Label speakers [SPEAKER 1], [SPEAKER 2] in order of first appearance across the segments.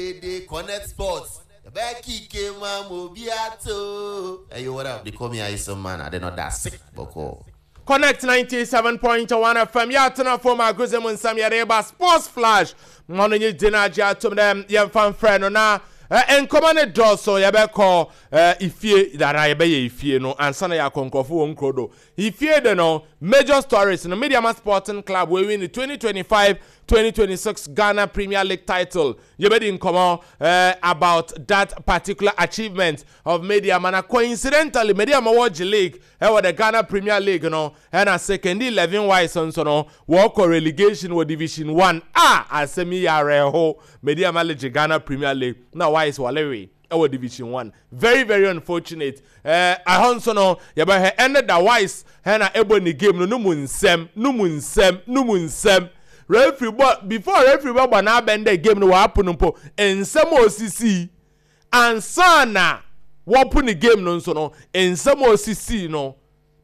[SPEAKER 1] Dede Connect Sports. Becky Mamo Biato. Hey, yo, what up? They call me Ice Man. I did not that sick, Boko.
[SPEAKER 2] Connect 97.1 FM yɛatena fam agrodze mu nsɛm yɛde ba Sports Flash ma no nye gyina agye atom dɛ yɛmfa mfrɛ no na nkɔmmɔ ne dɔɔso. Yɛbɛkɔ ifie dara, yɛbɛyɛ ifie no ansa na yɛakɔ nkurɔfo wɔ nkuro do. Ifie de no, major stories no, Medeama Sporting Club win the 2025-2026 Ghana Premier League title. Yɛbɛdi nkɔmmɔ about that particular achievement of Medeama, na coincidentally Medeama wɔgye league ɛwɔ the Ghana Premier League no, ɛna Sekondi 11 Wise nso no wɔkɔ relegation wɔ Division 1 a. Asɛm yi yɛ awerɛho. Medeama legye Ghana Premier League na Wise wɔlewe ɛwɔ Division 1. Very, very unfortunate. Ɛhɔ nso no yɛbɛhwɛ ɛne da Wise ɛna ɛbɔ ne game no no mu nsɛm no mu nsɛm no mu nsɛm. Referee bɔ, before referee bɛbɔ n'abɛn dɛ game no wɔapo no mpo, nsɛm a osisi ansa na wɔpo ne game no nso no, nsɛm a osisi no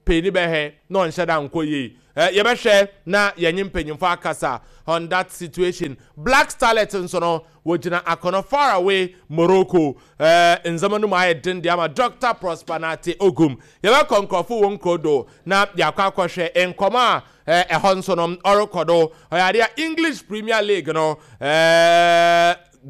[SPEAKER 2] panyin bɛhwɛ na ɔnhyɛ da nkɔ yie. Yɛbɛhwɛ na yɛnye mpanyinfo akasa on that situation. Black Starlet nso no wɔgyina akɔnɔ far away Morocco. Ndzɛmba no mu ayɛ den de ama Dr Prosper Nate Ogum. Yɛbɛkɔ nkurɔfo wɔ nkuro do na yɛakɔ akɔhwɛ nkɔmɔ a ɛhɔ nso no ɔrekɔ do. Ɔyɛ adeɛ a English Premier League no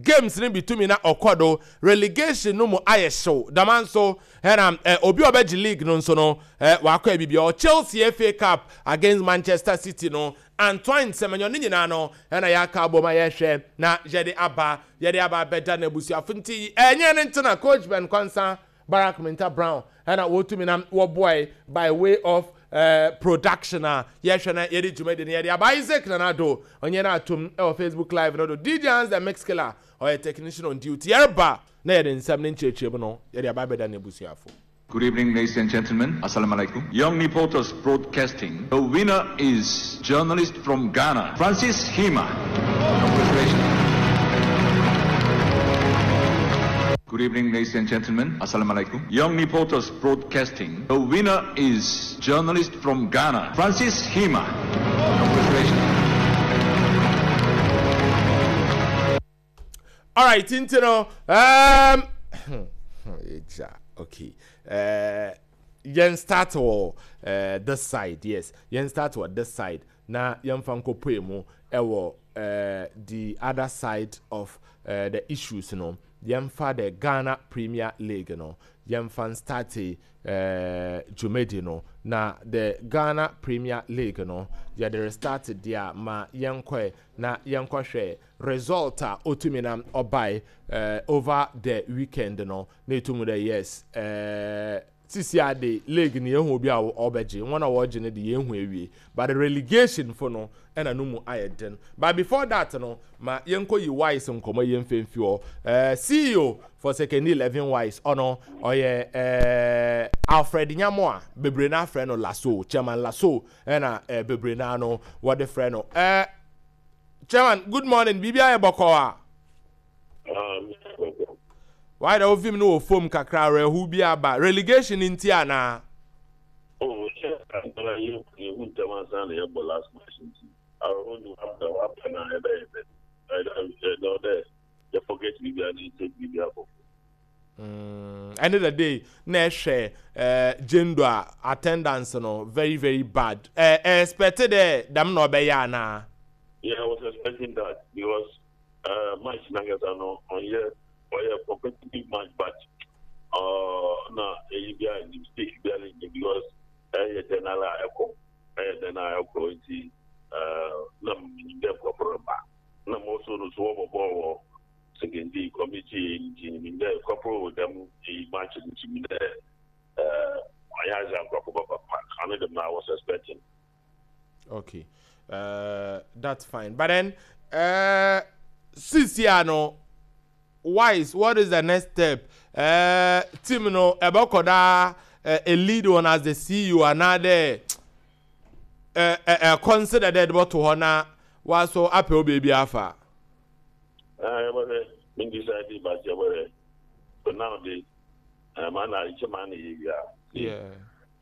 [SPEAKER 2] games no bi tumi na ɔkɔ do. Relegation no mu ayɛ hyew dama nso, ɛna obi a ɔbɛgye league no nso no wakɔ abibi ɔ Chelsea FA Cup against Manchester City no, Antoine Semenyo ne nyinaa no ɛna yɛaka abom a yɛhwɛ na yɛde aba abɛda n'abusuafo. Nti ɛnyɛ ne ntena Coach Ben Kwansa Barak Minta Brown ɛna wɔtumi na wɔboae by way of production a yɛhwɛ na yɛde dwumadi no yɛde aba. Isaac Nanado ɔnyɛ no atom ɛwɔ Facebook Live no do. DJ Hans the Mix Killer ɔyɛ technician on duty. Yɛreba na yɛde nsɛm ne nkyerɛkyerɛ mu no yɛde aba abɛda n'abusuafo.
[SPEAKER 3] Good evening, ladies and gentlemen. Assalamu alaikum. Young Reporters Broadcasting. The winner is journalist from Ghana, Francis Hima. Congratulations. Good evening, ladies and gentlemen. Assalamu alaikum. Young Reporters Broadcasting. The winner is journalist from Ghana, Francis Hima. Congratulations.
[SPEAKER 2] Alright, nti no okay, yɛn start wɔ this side. Yes, yɛn start wɔ this side na yɛmfa nkɔpue mu ɛwɔ the other side of the issues no. Yɛmfa the Ghana Premier League no, yɛmfa start dwumadi no. Na the Ghana Premier League no yɛde restart deɛ a, ma yɛnkɔɛ na yɛnkɔhwɛ result a otumi na ɔbae over the weekend no na etum dɛ yes, sisi ade league no yɛhu obi a ɔbɛgye. Wɔn a wɔregye no de yɛhu awie, but the relegation fo no ɛna no mu ayɛ den. But before that no, ma yɛnkɔ yi Wise nkɔmɔ yɛn mfɛmfi hɔ. CEO for Sekondi 11 Wise, ɔno ɔyɛ Alfred Nyamoa, bebree na afrɛ no Laso, Chairman Laso, ɛna bebree na no wɔde frɛ no. Chairman, good morning. Biribi ayɛ bɔkɔɔ a wayɛ dɛ wofim no wɔ fam kakra. Awerɛho bi aba relegation nti anaa?
[SPEAKER 4] Oh, sɛ ankara yɛhu ntɛm ansa na yɛbɔ last match, nti awerɛho de waba na ɛbɛyɛ bɛ ɛdɛ ɔdɛ yɛ forget biribiara na yɛtake biribiara foforɔ.
[SPEAKER 2] End of the day na ɛhwɛ jendo a attendance no very, very bad. Expect dɛ dɛm na ɔbɛyɛ anaa?
[SPEAKER 4] Yeah, I was expecting that because match nankasa no ɔnyɛ, ɔyɛ competitive match, but na eyi bi a mistake bi a ne because ɛyɛ dɛn ara ɛkɔ, ɛyɛ dɛn ara ɛkɔ, nti na menyim dɛ nkurɔfo reba na mo so no so wɔbɔ bɔɔl wɔ Sekondi community, nti menyim dɛ nkurɔfo wɔ dɛm eyi match no, nti menyim dɛ ɔnyɛ adze a nkurɔfo bɛba park ano dɛm na I was expecting.
[SPEAKER 2] Okay, that's fine, but then sisi ano Wise, what is the next step? Team no ɛbɛkɔ daa a lead one as the CEO anaadɛ consider dɛ ɛde bɔto hɔ na waso apɛ wo baabi afa?
[SPEAKER 4] Yɛbɛhwɛ, me decide, but yɛbɛhwɛ. For now de, ma na nkyɛ ma na yɛ wia.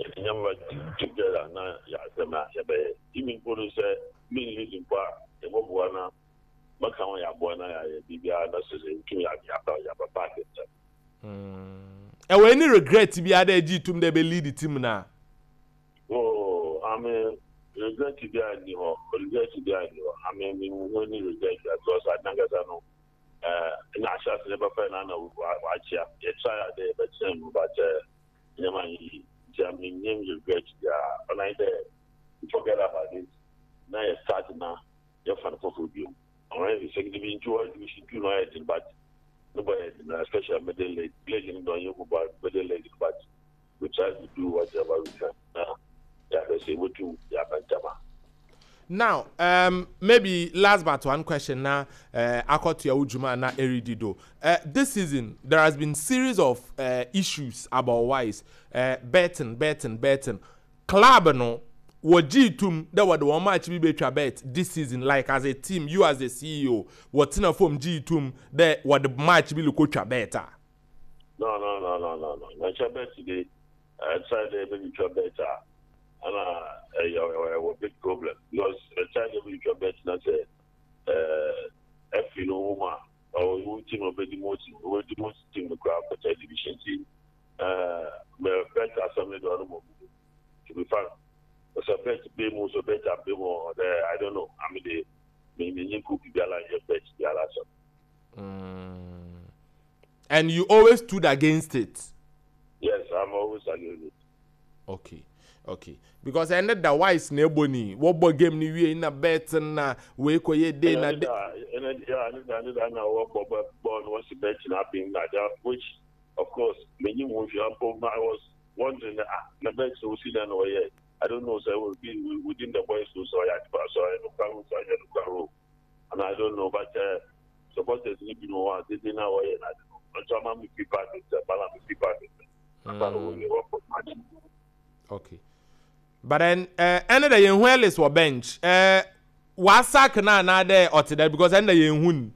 [SPEAKER 4] Yɛde nyɛma together na yɛasɛm a yɛbɛyɛ. Even mpo no sɛ me lead mpo a, yɛbɔboa na. Mɛka ho yɛaboa na yɛayɛ biribiara na sɛ sɛ yɛtum yɛaba yɛaba back ntɛm.
[SPEAKER 2] Ɛwɔ any regret biara dɛ egye tum dɛ ebe lead team no a?
[SPEAKER 4] Oh, I mean, regret biara nni hɔ, regret biara nni hɔ. I mean, me nhu any regret biara because ade nankasa no, eh, na ahyɛase no yɛbɛfrɛ no ana wakyea. Yɛtry a dɛ yɛbɛkyerɛ no but eh, nneɛma anyɛ yie. Nti I mean, menni regret biara. Ɔno ayɛ dɛ we forget about it na yɛ start na yɛfa no foforɔ bio. Ɔno ayɛ sɛ bi nti wɔ division 2 no ayɛ den but no bɔ yɛ den especially middle leg leg no dɔn yɛ hu ba middle leg no but we try to do whatever we can na yɛahwɛ sɛ yɛbɛtum yɛaba ntɛm a.
[SPEAKER 2] Now, maybe last but one question na akɔtoa wo dwuma na ɛredi do. This season, there has been series of issues about wise betting, betting, betting. Club no, wɔgyee tom dɛ wɔde wɔn match bi betwa bet this season, like as a team, you as the CEO, wɔtena fam gyee tom dɛ wɔde match bi rekotwa bet a?
[SPEAKER 4] No, no, no, no, no, no. Na nkyɛ bet de, ɛkyɛ dɛ ebetwa bet a, ɛna ɛyɛ ɛwɔ big problem because ɛkyɛ dɛ ebetwa bet na sɛ ɛɛ ɛfi no ho ma ɔwɔ wo team ɔbɛdi mo team, ɔbɛdi mo team no koraa kɔkyɛ division team. Ɛɛ mɛ bet asɛm no deɛ ɔno mmom to be frank sɛ bet bɛ mu sɛ bet abɛ mu ɔdɛ I don't know ame de me me nye group biara nyɛ bet biara asɛm.
[SPEAKER 2] And you always stood against it.
[SPEAKER 4] Yes, I'm always against it.
[SPEAKER 2] Okay, okay. Because ɛnɛ da wise na ɛbɔ ni wɔbɔ game ni wie na bet na wei kɔ yɛ de na de.
[SPEAKER 4] Ɛnɛ da ɛnɛ da ɛnɛ da na wɔbɔ bɔɔl no wɔsi bet na abɛn na which. Of course mennyim ho hwee mpo I was wondering dɛ ah na bɛn sɛ osi dɛn na ɔyɛe I don't know sɛ it will be within the boys o sɛ ɔyɛ adepa sɛ ɔyɛ nokwar o sɛ ɔnnyɛ nokwar o and I don't know but eh supporters no binom wɔ hɔ a dede no a wɔyɛ no ade no nso ama me fi park ntɛm bala me fi park ntɛm ansa na wɔwie wɔkɔ match.
[SPEAKER 2] Okay. But then eh ɛne dɛ yɛn hu Ellis wɔ bench eh wasak no anaa dɛ ɔte dɛ because ɛne dɛ yɛn hu no.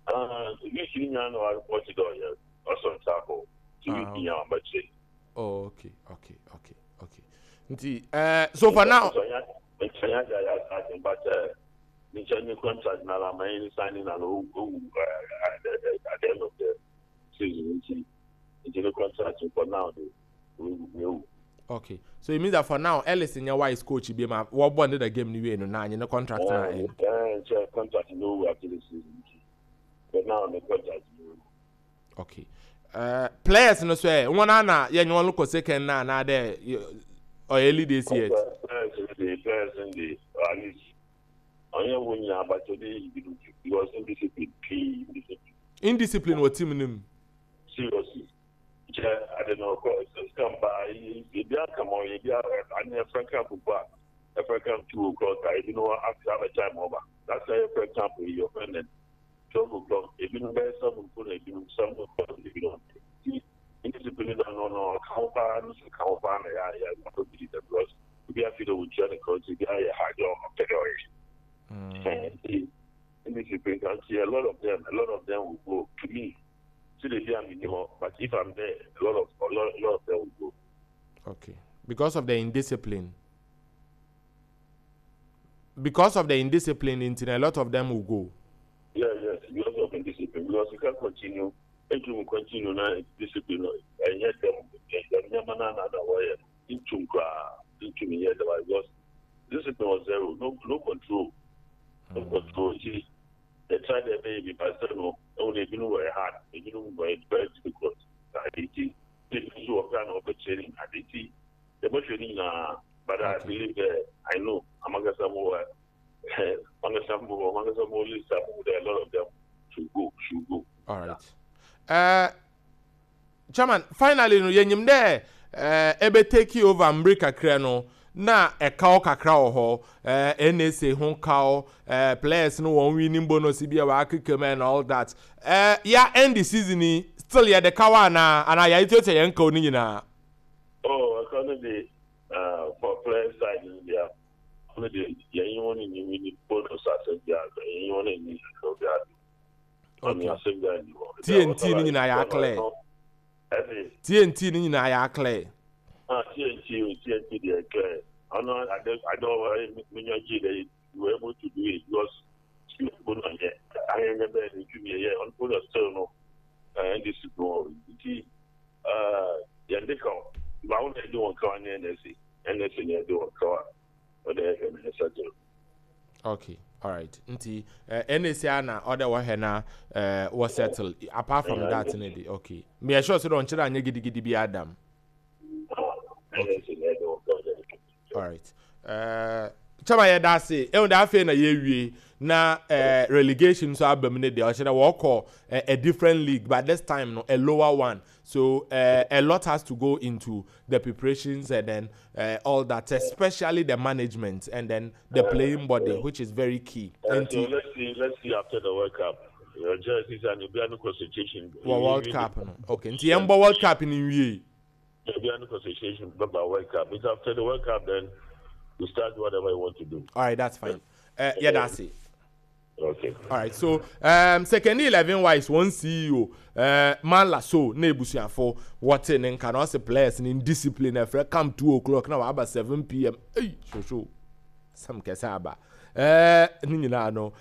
[SPEAKER 4] Ah, week ni nyinaa na ɔte dɛ ɔyɛ ɔsɔ nsa akɔ ti week nyinaa ɔbɛ kyerɛ.
[SPEAKER 2] Oh, okay, okay, okay, okay. Nti eh so for now.
[SPEAKER 4] Nsanya gya yɛ asase but eh nkyɛn ne contract na la ma yɛn signing na no owu at the end of the season nti nti ne contract for now de.
[SPEAKER 2] Okay, so it means that for now Ellis nyɛ wise coach bi ma wɔbɔ ne da game ni wie no na nye ne contract na end.
[SPEAKER 4] Ɛɛ nkyɛn contract no wu after the season nti for now ne contract no wu.
[SPEAKER 2] Okay, players no so ɛ wɔn ana yɛ nye wɔn kɔ second na ana dɛ ɔyɛ early days yet.
[SPEAKER 4] Players no de players no de at least ɔnyɛ wɔn nyinaa but ɔde ebinom because indiscipline pii indiscipline.
[SPEAKER 2] Indiscipline wɔ team no mu.
[SPEAKER 4] Seriously. Nkyɛ ade no ɔkɔ sika mba ebi aka ma ɔyɛ ebi ane ɛfrɛ camp mpo a ɛfrɛ camp 2 o'clock a ebi no after abɛ time ɔba that's why ɛfrɛ camp yi ɔfrɛ no 12 o'clock ebi no bɛyɛ 7 mpo na ebi no 7 o'clock ebi no nti indiscipline na no ɔka ho paa no so ka ho paa na yɛ yɛ akɔ bi da because ebi afi dɛ wɔtua ne kɔn nti ebi ayɛ ha deɛ ɔpɛ dɛ ɔyɛ nti indiscipline kan nti a lot of them will go to me. See the day I'm in but if I'm there, a lot of them will go.
[SPEAKER 2] Okay, because of the indiscipline. Because of the indiscipline, in a lot of them will go.
[SPEAKER 4] Yeah, yes, because of indiscipline. Because you can't continue. If you continue now, discipline, and yet them, into me because discipline was zero, no, no control, no control. See, they tried their baby, but still no. Ɛwɔ ebinom wɔ hard, ebinom wɔ very difficult. Ade ti, ebi nso wɔ kra na ɔbɛ training ade ti. Yɛbɛhwɛ ne nyinaa, but I believe that I know amankasa mo wɔ amankasa mo wɔ amankasa mo list a mo a lot of them should go should go.
[SPEAKER 2] All right. Chairman, finally no yɛnyim dɛ ebe take over mbere kakra no na ɛkaw kakra wɔ hɔ, NSA ho kaw, players no wɔn winning bonus bi a wɔakeka mu and all that. Ya end the season yi still yɛde kaw anaa anaa yɛatuatua yɛn kaw no nyinaa?
[SPEAKER 4] Oh, ɛka no de for player side no deɛ ɔno de yɛnye wɔn nni winning bonus asɛm biara, yɛnye wɔn nni ɛkaw biara.
[SPEAKER 2] Okay. TNT no nyinaa yɛ aclear. TNT no nyinaa yɛ aclear.
[SPEAKER 4] Ah, TNT, TNT deɛ clear. Ɔno ade ade ɔwɔ menya gye dɛ you were able to do it because NDC mpo na ɔnyɛ ayɛnyɛ bɛyɛ ne dwuma yɛ ɔno mpo na still no NDC no nti yɛn de ka bawo na ɛde wɔn kawa ne NSA NSA na ɛde wɔn kawa ɔde ɛhwɛ na ɛsɛ gyina.
[SPEAKER 2] Okay, all right. Nti NSA na ɔde wɔhwɛ na wɔ settle apart from that ne de okay. Me sure sɛ ɔnkyerɛ anyɛ gidigidi bi adam.
[SPEAKER 4] Okay.
[SPEAKER 2] All right. Chama yɛ da ase. Ehu da afei na yɛwie na relegation nso aba mu ne deɛ ɔkyerɛ wɔkɔ a different league but this time no a lower one. So a lot has to go into the preparations and then all that, especially the management and then the playing body, which is very key.
[SPEAKER 4] So let's see after the World Cup. Just is an concentration.
[SPEAKER 2] Well, World Cup no. Okay. Nti yɛn bɔ World Cup ni nwie.
[SPEAKER 4] Be concentration about World Cup. It's after the World Cup then you start whatever you want to do.
[SPEAKER 2] All right, that's fine. Yeah, that's it.
[SPEAKER 4] Okay.
[SPEAKER 2] All right. So, Sekondi 11 Wise one CEO, man la so na ebusuafo wɔte ne nka na ɔsɛ players ne discipline ɛfrɛ come 2 o'clock na waba 7 p.m. Hey, so sam kɛse aba. Ne nyinaa no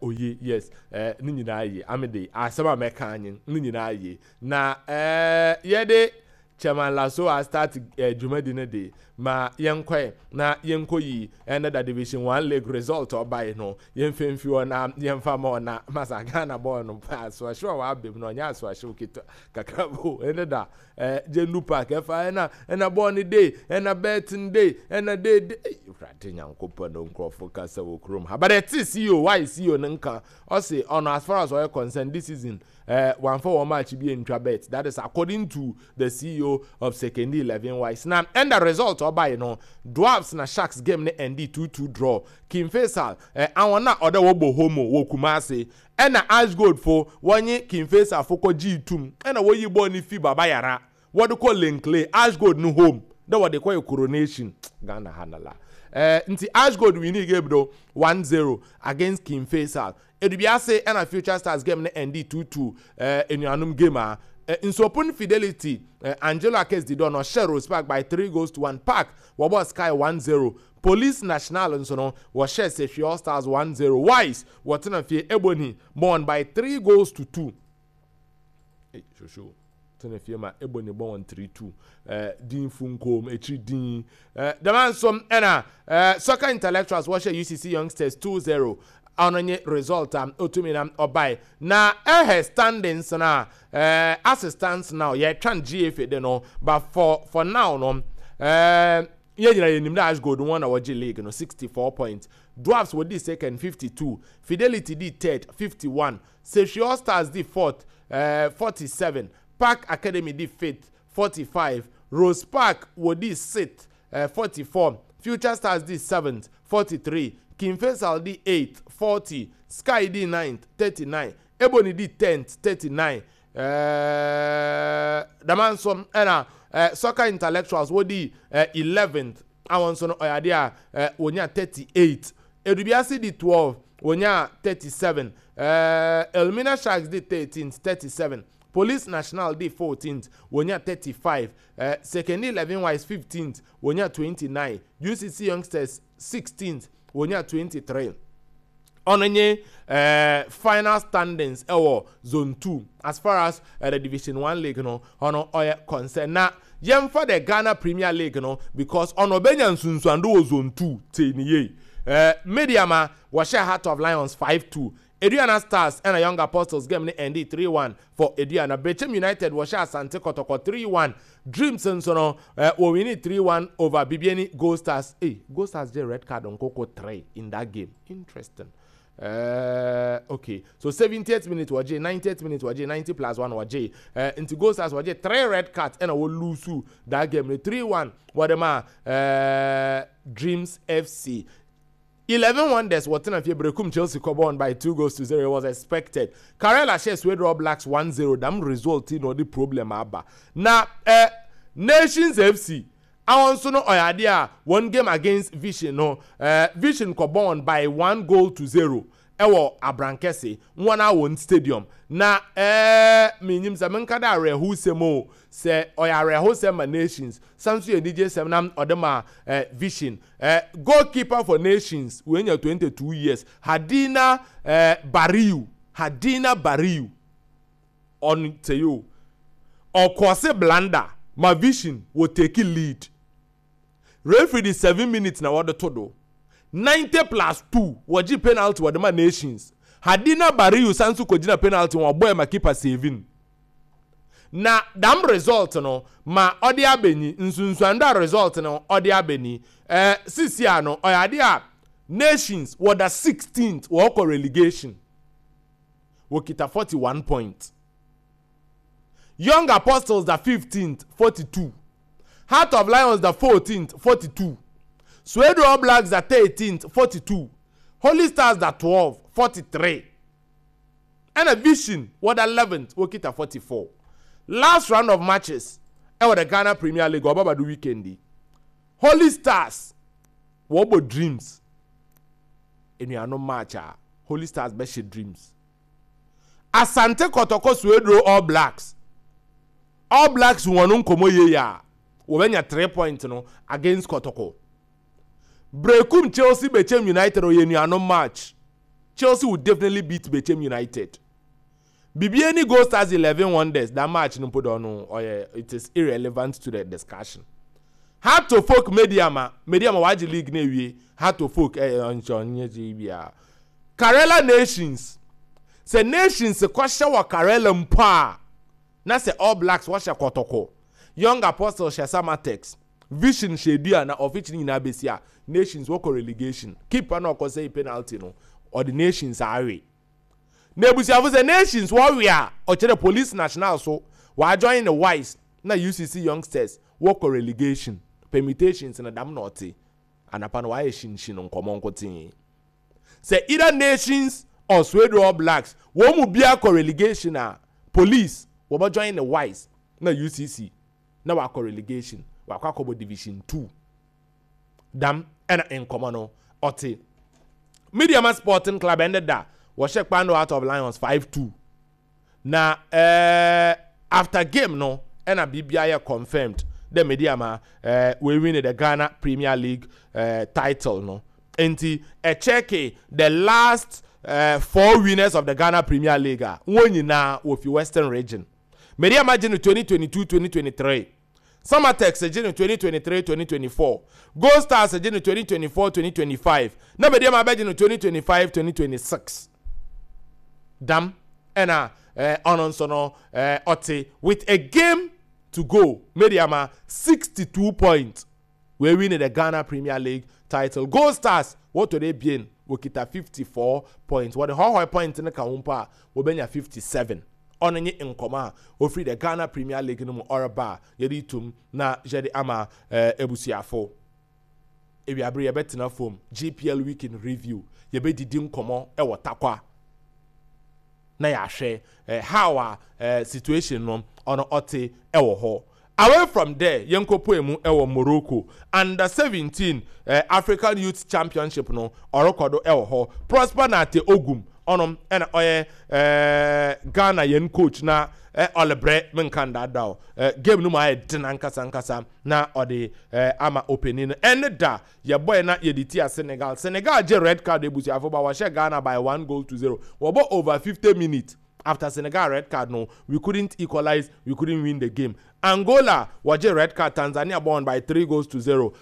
[SPEAKER 2] oye, yes, ne nyinaa ye amede asɛm a mɛka anyi ne nyinaa ye na yɛde Chairman Lasso a start dwumadi no de ma yɛnkɔɛ na yɛnkɔ yi ɛne da Division One league result ɔbae no yɛmfa mfi hɔ na yɛmfa ma ɔna masa Ghana bɔɔl no pa asoahyew a wabem no ɔnyɛ asoahyew ketewa kakra bo ɛne da Gyendu Park ɛfa ɛna bɔɔl no day ɛna betting day ɛna day day Awurade Nyankopɔn no nkurɔfo kasa wɔ kurom ha, but ɛte CEO why CEO no nka ɔse ɔno as far as ɔyɛ concerned this season wamfa wɔn match bi ntwa bet. That is according to the CEO of Sekondi 11 Wise. Na and the result ɔbae no, Dwarfs na Sharks game ne end 2-2 draw. King Faisal awon na ɔdɛ wɔbɔ homo wɔ Kumase ɛna Ashgold fo wɔnye King Faisal fo kɔ gye tum ɛna wɔyi bɔɔl ne fi Baba Yara wɔde kɔ Len Clay Ashgold no home dɛ wɔde kɔ yɛ coronation Ghana ha nala nti Ashgold winning game do 1-0 against King Faisal. Edubiase ɛna Future Stars game ne end 2-2, enuanom game a Nsopun Fidelity, Angelo Akes Dido no ɔhyɛ Rose Park by 3 goals to 1. Park wɔbɔ Sky 1-0. Police National nso no wɔhyɛ Sefwi All Stars 1-0. Wise wɔtena fie Ebony bɔn by 3 goals to 2. Hey, shosho tena fie ma Ebony bɔ wɔn 3-2 din funkom ekyiri din dɛm nso ɛna Soccer Intellectuals wɔhyɛ UCC Youngsters 2-0. Ɔno nye result a otumi na ɔbae na ɛhɛ standings na as it stands now yɛtwan GFA de no, but for now no yɛn nyinaa yɛnim dɛ Ashgold wɔn na wɔgye league no 64 points. Dwarfs wɔdi second 52, Fidelity di third 51, Sefwi All Stars di fourth 47, Park Academy di fifth 45, Rose Park wɔdi sixth 44, Future Stars di seventh 43, King Faisal di eighth 40, Sky di ninth 39, Ebony di 10th 39. Dama nso ɛna Soccer Intellectuals wɔdi 11th awon nso no ɔyɛ adeɛ a wɔnya 38. Edubiase di 12, wɔnya 37. Elmina Sharks di 13th 37, Police National di 14th, wɔnya 35. Sekondi 11 Wise 15th, wɔnya 29. UCC Youngsters 16th, wɔnya 23. Ɔno nye final standings ɛwɔ Zone 2 as far as the Division 1 league no ɔno ɔyɛ concern. Na yɛmfa the Ghana Premier League no because ɔno ɔbɛnya nsunsuando wɔ Zone 2 te ne yie. Medeama wɔhyɛ Heart of Lions 5-2. Aduana Stars ɛna Young Apostles game ne end 3-1 for Aduana. Bechem United wɔhyɛ Asante Kɔtɔkɔ 3-1. Dreams nso no wɔ win 3-1 over Bibiani Gold Stars. Hey, Gold Stars gye red card nkoko 3 in that game. Interesting. Okay, so 70th minute wɔgye, 90th minute wɔgye, 90 plus 1 wɔgye. Nti Gold Stars wɔgye 3 red cards ɛna wɔ lose that game no 3-1 wɔde ma Dreams FC. 11 Wonders wɔtena fie Berekum Chelsea kɔbɔn by 2 goals to 0. It was expected. Karela hyɛ Swedru Blacks 1-0. Dam result na ɔde problem aba na Nations FC awon nso no ɔyɛ adeɛ a one game against Vision no, Vision kɔbɔn by 1 goal to 0. Ɛwɔ Abrankɛse hɔn a hɔn stadium. Na eh, minnyim sɛ menka dɛ awerɛhowsɛm o, sɛ ɔyɛ awerɛhowsɛm ma Nations, san so yɛ enigyesɛm na ɔde ma eh, Vision. Eh, goalkeeper for Nations, oenya 22 years, Hadina eh, Bariu, Hadina Bariu, ɔno tsei o, ɔkɔɔse blunder ma Vision wɔ take lead. Referee de 7 minutes na wɔde to do. 90 plus 2, wɔgye penalty wɔde ma Nations. Hadina Bariu san so kɔgyina penalty ho ɔbɔɛ ma keeper saving. Na dam result no ma ɔde abɛnyi, nsunsuando a result no ɔde abɛni. Eh, sisi a no, ɔyɛ ade a Nations wɔda 16th wɔkɔ relegation. Wɔkita 41 points. Young Apostles da 15th, 42. Heart of Lions da 14th, 42. Swedru All Blacks da 13th, 42. Holy Stars da 12, 43. Ɛna Vision wɔda 11th, wɔkita 44. Last round of matches ɛwɔ the Ghana Premier League ɔbɛba do weekend yi. Holy Stars wɔbɔ Dreams. Enuanom match a Holy Stars bɛhyɛ Dreams. Asante Kɔtɔkɔ Swedru All Blacks. All Blacks wɔn nkɔmɔ yie a wɔbɛnya 3 point no against Kɔtɔkɔ. Brekum Chelsea Bechem United ɔyɛ nuanom match. Chelsea will definitely beat Bechem United. Bibiani Gold Stars 11 Wonders that match no mpo dɔ no ɔyɛ, it is irrelevant to the discussion. Heart to Folk Mediama, Mediama wagye league na ewie. Heart to Folk ɛyɛ ɔnkyɛ ɔnyɛ gye bia. Karela Nations, sɛ Nations kɔhyɛ wɔ Karela mpo a, na sɛ All Blacks wɔhyɛ Kɔtɔkɔ, Young Apostles hyɛ Samatex, Vision hyɛ Dua na ɔfikyi no nyinaa bɛsi a, Nations wɔkɔ relegation. Keeper na ɔkɔsɛe penalty no, ɔde Nations awe. Na abusuafo sɛ Nations wɔwe a, ɔkyerɛ Police National so wɔajoin ne Wise na UCC Youngsters wɔkɔ relegation. Permutations no dam na ɔte. Anapa no wɔayɛ hyinhyin nkɔmmɔ nkotee. Sɛ either Nations or Swedru All Blacks wɔn mu biara kɔ relegation a, Police wɔbɛ join ne Wise na UCC na wakɔ relegation, wakɔ akɔbɔ Division 2. Dam ɛna nkɔmɔ no ɔte. Medeama Sporting Club ɛnde da wɔhyɛ Kpando Out of Lions 5-2. Na eh, after game no ɛna biribiara yɛ confirmed dɛ Medeama eh, we win the Ghana Premier League eh, title no. Nti ɛkyɛke the last 4 winners of the Ghana Premier League a wɔn nyinaa wɔfi Western Region. Medeama gye no 2022-2023. Samatex gye no 2023-2024, Gold Stars gye no 2024-2025, na Medeama abɛgye no 2025-2026. Dam ɛna ɔno nso no ɔte with a game to go. Medeama 62 points wee win the Ghana Premier League title. Gold Stars wɔtɔ de ebien, wɔkita 54 points. Wɔde hɔhɔe point no ka ho mpo a, wɔbɛnya 57. Ɔno nye nkɔmɔ a ofiri the Ghana Premier League no mu ɔreba a yɛde tum na yɛde ama ebusuafo. Ewiabere yɛbɛtena fam GPL Week in Review, yɛbɛdidi nkɔmɔ wɔ Tarkwa na yɛahwɛ how a situation no ɔno ɔte wɔ hɔ. Away from there, yɛnkɔpue mu wɔ Morocco Under 17 African Youth Championship no ɔrekɔ do wɔ hɔ. Prosper Narteh Ogum ɔno na ɔyɛ Ghana yɛn coach na ɔlebrɛ menka ndaadaa o. Game no mu ayɛ den ankasa ankasa na ɔde ama ɔpanin no. Ɛne da yɛbɔe na yɛde tia Senegal. Senegal gye red card ebusuafo ba wɔhyɛ Ghana by 1 goal to 0. Wɔbɔ over 50 minutes. After Senegal red card no, we couldn't equalize, we couldn't win the game. Angola wɔgye red card, Tanzania bɔn by 3 goals to 0.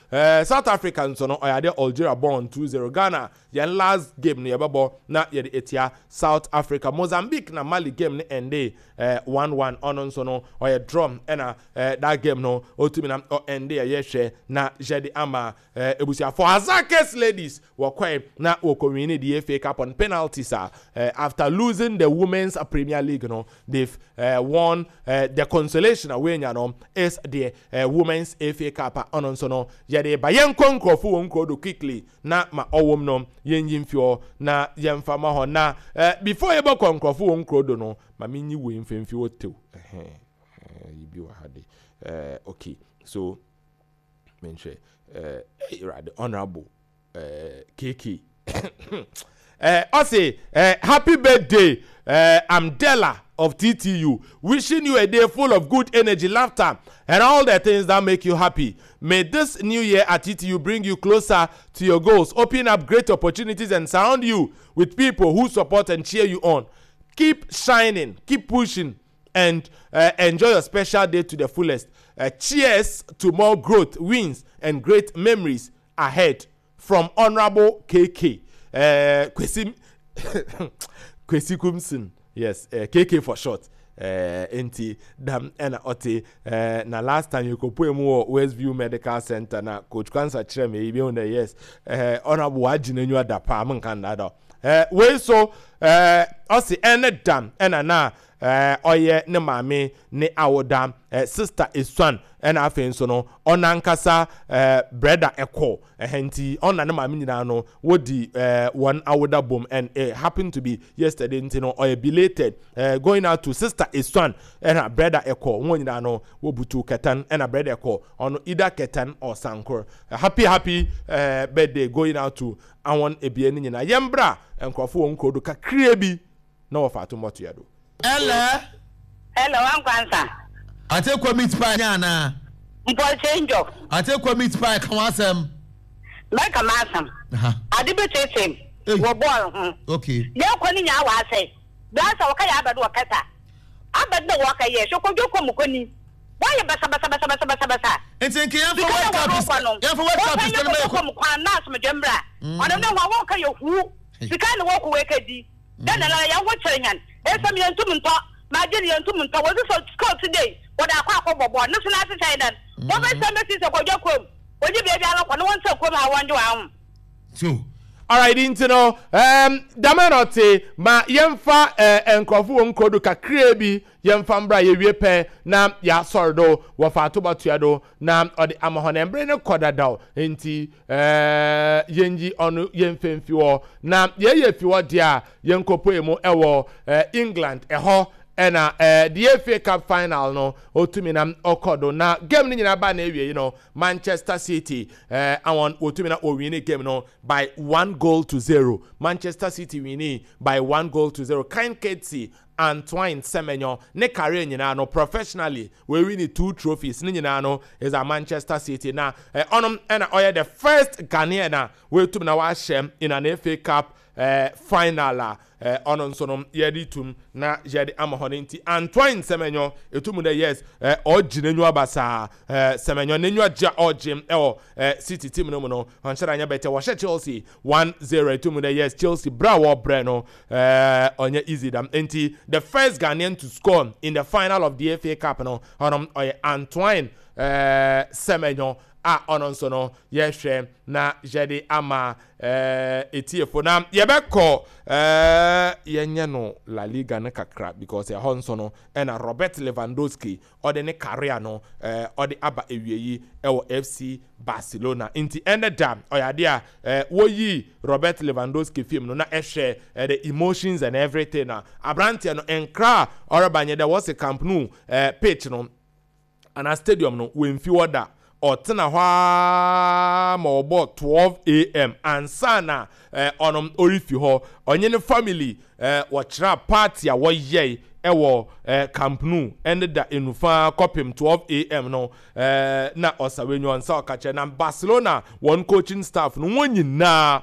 [SPEAKER 2] South Africa nso no ɔyɛ adeɛ Algeria bɔn 2-0. Ghana yɛn last game no yɛbɛbɔ na yɛde etia South Africa. Mozambique na Mali game no ɛnde 1-1. Ɔno nso no ɔyɛ draw ɛna that game no otumi na ɔɛnde ɛyɛ hwɛ na yɛde ama ebusuafo. Hasaacas Ladies wɔkɔɛ na wɔkɔ win the FA Cup on penalties a after losing the Women's Premier League no, they've won the consolation a wɔanya no is the Women's FA Cup a ɔno nso no yɛde ba. Yɛnkɔ nkurɔfo wɔn nkuro do quickly na ma ɔwɔ mu no yɛnyi mfi hɔ na yɛmfa ma hɔ na before yɛbɛkɔ nkurɔfo wɔn nkuro do no, ma menyi wei mfimfi hɔ tew ɛhɛn yi bi wɔ ha de. Okay, so menhwɛ ɛɛ Awurade, Honourable KK. Ɔse happy birthday Amdella of TTU, wishing you a day full of good energy, laughter, and all the things that make you happy. May this new year at TTU bring you closer to your goals, open up great opportunities, and surround you with people who support and cheer you on. Keep shining, keep pushing, and enjoy your special day to the fullest. Cheers to more growth, wins, and great memories ahead. From Honorable KK. Kwesi, Kwesi Kumsin. Yes, KK for short. Enti dam ɛna ɔte na last time yɛkɔpue mu wɔ Westview Medical Center na Coach Kwansa kyerɛ me ebi hu dɛ yes, Honorable wagye n'enyiwa da paa menka nnada. Wei so ɔse ɛne dam ɛna na ɔyɛ ne maame ne awoda, sister Esuan, ɛna afei nso no ɔnankasa brɛda ɛkɔ ɛhɛ nti ɔna ne maame nyinaa no wodi wɔn awoda bom, and it happened to be yesterday nti no ɔyɛ belated going out to sister Esuan ɛna brɛda ɛkɔ wɔn nyinaa no wɔbutu kɛtɛn ɛna brɛda ɛkɔ ɔno either kɛtɛn or sankor. Happy happy birthday going out to awon ebien ne nyinaa. Yɛn bra nkurɔfo wɔn nkuro do kakraa bi na wɔfa ato mmɔtoa do.
[SPEAKER 5] Ɛlɛ.
[SPEAKER 6] Hello, Ankwansa.
[SPEAKER 5] Ate kɔ meat pie nyɛ anaa?
[SPEAKER 6] Mpɔkyɛ njɔ.
[SPEAKER 5] Ate kɔ meat pie ka w'asɛm.
[SPEAKER 6] Mɛka m'asɛm. Ade bi teetee me wɔ bɔɔl ho.
[SPEAKER 5] Okay.
[SPEAKER 6] Yɛn kɔ ne nyaa w'asɛe. Blaster wɔka yɛ abɛdo wɔ kɛta. Abɛdo na wɔka yɛ hwɛ kɔdwo kɔ mu kɔ ni. Wɔyɛ basabasabasabasabasa.
[SPEAKER 5] Nti nka yɛn fa World Cup yɛn fa World Cup sika no mɛ
[SPEAKER 6] kɔ mu kwan na asomdwe mbra. Ɔno ne ho wɔka yɛ huu. Sika na wɔkɔ wɔka di. Dɛn na nara hɛnho kyer hɛn? Nsɛm yenntum nntɔ, margin yenntum nntɔ, wɔdze sɔ coat dei wɔdze akɔ akɔbɔ bɔɔl no so n'ahyehyɛe dɛn? Wɔbɛsan besi sɛ kɔdwa kurom, wɔnye beebiara kɔ na wɔntsena kurom ha wɔngye hɔn ahom.
[SPEAKER 5] So.
[SPEAKER 2] Alright, nti no, um, dɛm na ɔte, ma yɛmfa eh, nkurɔfo wɔn nkuro do kakraa bi yɛmfa mbra yɛwie pɛ na yɛasɔr do wɔfa atoba tua do na ɔde ama hɔn. Mber no kɔ dadaw ntsi eh, yenyi ɔno yɛmfa mfi hɔ. Na yɛyɛ fi hɔ deɛ a, yɛnkɔpue mu wɔ eh, England. Ɛhɔ ɛna eh, the FA Cup final no otumi na ɔkɔ do. Na game no nyinaa ba na ewiei no, Manchester City eh, awon wotumi na wɔwini game no by 1 goal to 0. Manchester City wini by 1 goal to 0. Kind Courtesy Antoine Semenyo ne career nyinaa no professionally wɔawi two trophies ne nyinaa no is at Manchester City na ɔnom ɛna ɔyɛ the first Ghanaian a wɔatum na wahyɛ in an FA Cup final a ɔno nso no yɛde tum na yɛde ama hɔ no. Nti Antoine Semenyo etum dɛ yes, ɔgye n'enyiwa basaa. Semenyo n'enyiwa gye a ɔgye ɛwɔ City team no mu no ɔnhyɛ da nyɛ bɛtɛ. Wɔhyɛ Chelsea 1-0, etum dɛ yes, Chelsea bra a wɔbrɛ no ɔnyɛ easy dam. Nti the first Ghanaian to score in the final of the FA Cup no, ɔno ɔyɛ Antoine Semenyo a ɔno nso no yɛhwɛ na yɛde ama etiefo. Na yɛbɛkɔ yɛnyɛ no La Liga no kakra because ɛhɔ nso no ɛna Robert Lewandowski ɔde ne career no ɔde aba ewie yi ɛwɔ FC Barcelona. Nti ɛnɛ da ɔyɛ adeɛ a wɔyi Robert Lewandowski film no na ɛhwɛ the emotions and everything na aberanteɛ no nkra a ɔreba nyɛ dɛ wɔsi Camp Nou pitch no anaa stadium no wɔmfi hɔ da. Ɔtena hɔ ara ma ɔbɔ 12 a.m. ansa na ɔno ɔrefi hɔ. Ɔnye ne family wɔkyerɛ party a wɔyɛe ɛwɔ Camp Nou ɛne da enufa kɔpem 12 a.m. no na ɔsawenyi ɔnsa ɔka kyerɛ. Na Barcelona wɔn coaching staff no wɔn nyinaa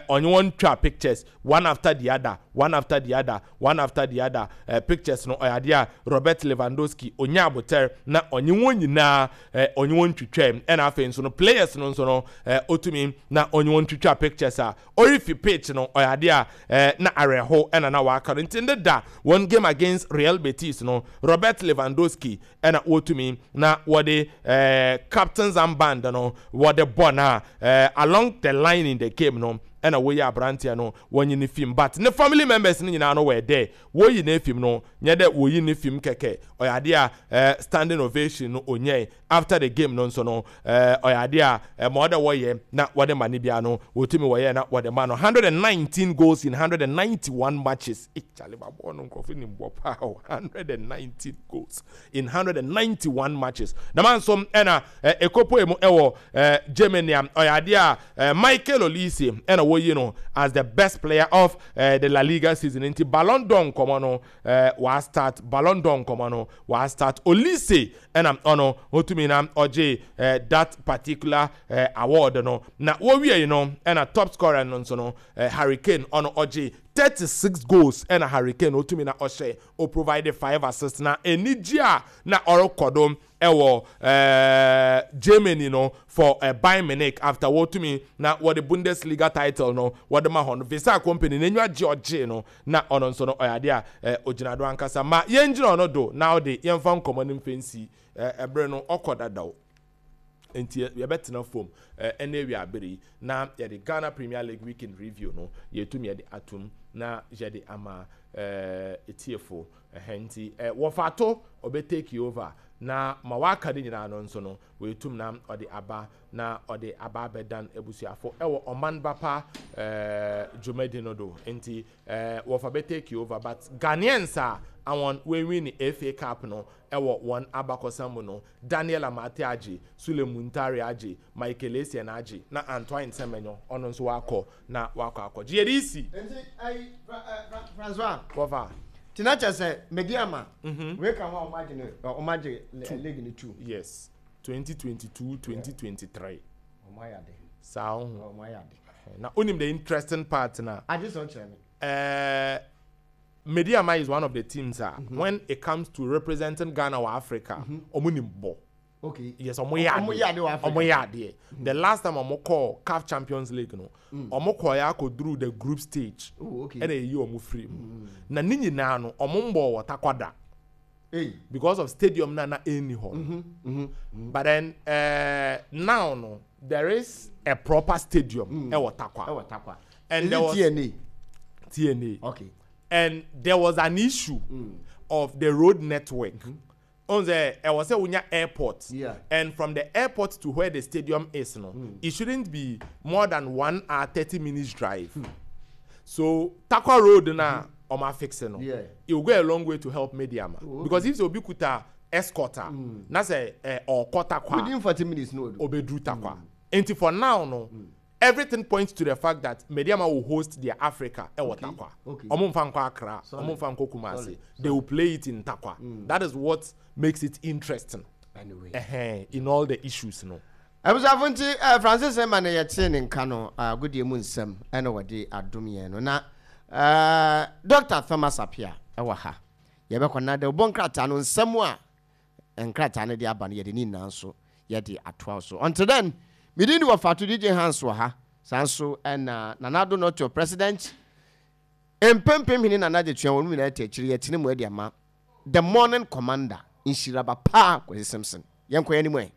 [SPEAKER 2] ɔnye wɔn twa pictures one after the other, one after the other, one after the other. Pictures no ɔyɛ adeɛ a Robert Lewandowski onya abotɛr na ɔnye wɔn nyinaa ɔnye wɔn twitwa. Ɛna afei nso no players no nso no otumi na ɔnye wɔn twitwa pictures a ɔrefi pitch no. Ɔyɛ adeɛ a na awerɛho ɛna na waka no. Nti ne da wɔn game against Real Betis no, Robert Lewandowski ɛna wɔtumi na wɔde captain's armband no wɔde bɔ na along the line in the game no ɛna wɔyi aberanteɛ no wɔnye ne fim, but ne family members no nyinaa no wɔ dɛ wɔyi ne fim no nyɛ dɛ wɔyi ne fim kɛkɛ. Ɔyɛ adeɛ a standing ovation no onyɛ after the game no nso no ɔyɛ adeɛ a ma ɔdɛ wɔyɛ na wɔde ma ne bia no wɔtumi wɔyɛ na wɔde ma no. 119 goals in 191 matches. Charlie, babɔ no nkurɔfo nim bɔ paa o. 119 goals in 191 matches. Na ma nso ɛna ekopoe mu ɛwɔ Germany a ɔyɛ adeɛ a Michael Olise ɛna wɔyi no as the best player of the La Liga season. Nti Ballon d'Or nkɔmɔ no wa start, Ballon d'Or nkɔmɔ no wa start. Olise ɛna ɔno otumi na ɔgye that particular award no. Na wɔwie no ɛna top scorer no nso no, Harry Kane, ɔno ɔgye 36 goals. Ɛna Harry Kane otumi na ɔhyɛ, o provide 5 assists. Na anigye a na ɔrekɔ do ɛwɔ Germany no for Bayern Munich after wɔtumi na wɔde Bundesliga title no wɔde ma hɔ no, Visa company n'enyiwa gye ɔgye no, na ɔno nso no ɔyɛ adeɛ a ogyina do ankasa. Ma yɛngyina ɔno do na ɔde yɛmfa nkɔmɔ no mfɛnsi ɛberɛ no ɔkɔ dadaw, nti yɛbɛtena fam ɛne awia abere yi na yɛde Ghana Premier League weekend review no yɛtumi yɛde atum na yɛde ama etiefo ɛhɛn. Nti wɔfa to ɔbɛ take over na ma waka ne nyinaa no nso no wɔetum na ɔde aba na ɔde aba abɛdan abusuafo ɛwɔ ɔman bapa dwumadi no do. Nti wɔfa bɛ take over, but Ghanaians a awɔn wɔnwi ne FA Cup no ɛwɔ wɔn abakɔsɛm mu no, Daniel Amartey agye, Sule Muntari agye, Michael Essien agye, na Antoine Semenyo ɔno nso wakɔ na wakɔ akɔgye. Yɛde isi.
[SPEAKER 5] Nti ayi Francois.
[SPEAKER 2] Wɔfa.
[SPEAKER 5] Tina kyɛ sɛ Medeama wei ka ho a, ɔmo agye no, ɔmo agye league no two.
[SPEAKER 2] Yes, 2022, 2023.
[SPEAKER 5] Ɔmo ayɛ ade.
[SPEAKER 2] Saa ho.
[SPEAKER 5] Ɔmo ayɛ ade.
[SPEAKER 2] Na onim the interesting part na.
[SPEAKER 5] Agye sɛ ɔkyerɛ mi.
[SPEAKER 2] Medeama is one of the teams when it comes to representing Ghana or Africa, ɔmo nim bɔ. Yes, ɔmo yɛ
[SPEAKER 5] Ɔmo yɛ ade wɔ Africa.
[SPEAKER 2] Ɔmo yɛ adeɛ. The last time ɔmo kɔɔ CAF Champions League no, ɔmo kɔɔ yɛ akɔduru the group stage. Ɛna eyi ɔmo firi mu. Na ne nyinaa no, ɔmo mbɔ wɔ Tarkwa
[SPEAKER 5] Hey.
[SPEAKER 2] because of stadium na ɛnni hɔ no. But then now no, there is a proper stadium ɛwɔ Tarkwa.
[SPEAKER 5] Ɛwɔ Tarkwa.
[SPEAKER 2] And
[SPEAKER 5] Is
[SPEAKER 2] there
[SPEAKER 5] it
[SPEAKER 2] was
[SPEAKER 5] TNA?
[SPEAKER 2] TNA. And there was an issue of the road network. On the ɛwɔ sɛ wonya airport. And from the airport to where the stadium is no, it shouldn't be more than 1 hour 30 minutes drive. So Tarkwa Road na ɔmo afix no. It will go a long way to help Medeama. Because if sɛ obi kuta escort a, na sɛ ɔkɔ Tarkwa.
[SPEAKER 5] Within 40 minutes no.
[SPEAKER 2] Obeduru Tarkwa. Nti for now no, everything points to the fact that Medeama will host their Africa ɛwɔ Tarkwa. Ɔmo nfa nkɔ Accra, ɔmo nfa nkɔ Kumasi. They will play it in Tarkwa. That is what makes it interesting.
[SPEAKER 5] Anyway.
[SPEAKER 2] In all the issues no.
[SPEAKER 5] Abusuafo, nti Francis ma no yɛtee ne nka no, agodie mu nsɛm ɛna wɔde adom yɛn no. Na Dr. Thomas Apia ɛwɔ ha. Yɛbɛkɔ na de wobɔ nkrataa no nsɛm a nkrataa no de aba no, yɛde ne nyinaa nso yɛde atoa so. Until then, medin de wɔfa to DJ Hans wɔ ha saa nso, ɛna Nanado Nɔtɔ president mpempem hene Nana gye tua wɔn nyinaa te akyiri. Yɛtene mu adi ama the morning commander, nhyiraba paa Kwasi Simpson. Yɛnkɔ yɛn anim ɛ.